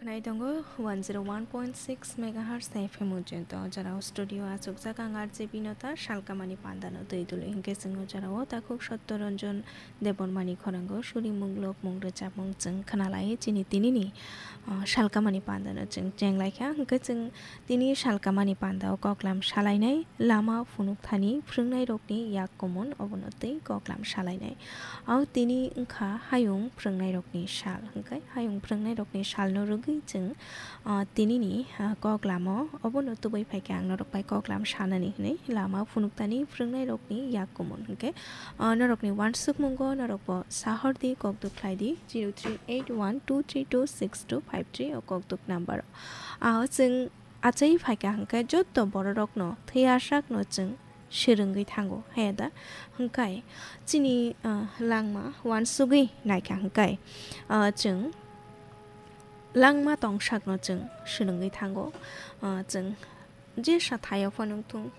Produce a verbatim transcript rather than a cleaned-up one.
Nai tongo one zero one point six megahertz F M ujento, o jorao studio achukjak ang R J Binota, salkamani pandano twi dului hinkhe chwng o jorao takhuk Sotto Ranjan Debbarmani khoranggo suri munglok mung rwchapmung chwng khnalai chini tinini, ah, salkamani pandano chwng chenglaikha. Hinkhe chwng tini salkamani pandao koklam salainai, lama phunukthani phrwngnairokni yak kumun obono tei koklam salainai. Ao tini wngkha hayung phrwngnairokni sal, hinkhe hayung phrwngnairokni salno rwgwi chwng, ah, tinini, ah, koklamo obono tubui phaikha ang norok bai koklam sanani hwnwi lama phunukthani phrwngnairokni yak kumun hinkhe, ah, norokni uansukmungo norokbo sahordi kokduk khlaidi zero three eight one two three two six two five three o kokduk number. Ao chwng achai phaikha hinkhe jotto bororokno thwiyarsakno chwng swrwngwi thango, haya da? Hinkhe chini, ah, langma uansugwi naikha hinkhe, ah, chwng langma tongsakno chwng swrwngwi thango. Ah, chwng jesa thaio phano wngthung,